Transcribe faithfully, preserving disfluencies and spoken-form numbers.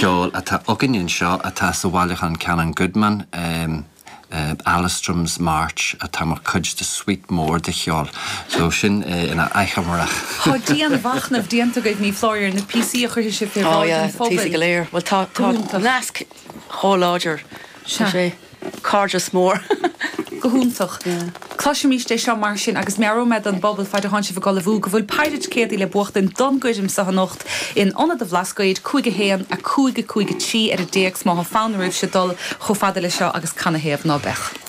ceoil atá againn anseo atá sa bhailiúchán Canon Goodman, um, uh, Alstrom's March atá mar chuid de suite mór de cheol. So sin uh, ina achoimre. Tá dianmhachnamh déanta agaibh ní foláir na píosaí a chuirfidh sibh fé Oh yeah, píosaí go léir. Well tá tá nasc chomh láidir sé cairdeas mór. Go hiontach. Cloisimid é seo mar sin agus meabhróidh mé don bpobal fad atá sibh ag ullmhú go bhfuil péire ticéadaí le buachtain don gcoirm seo anocht in Ionad an Bhlascaoid cúig a haon a cúig a cúig a trí ar an dtéacs má tá fonn oraibhse dul chomh fada le seo agus canathaobh ná beadh.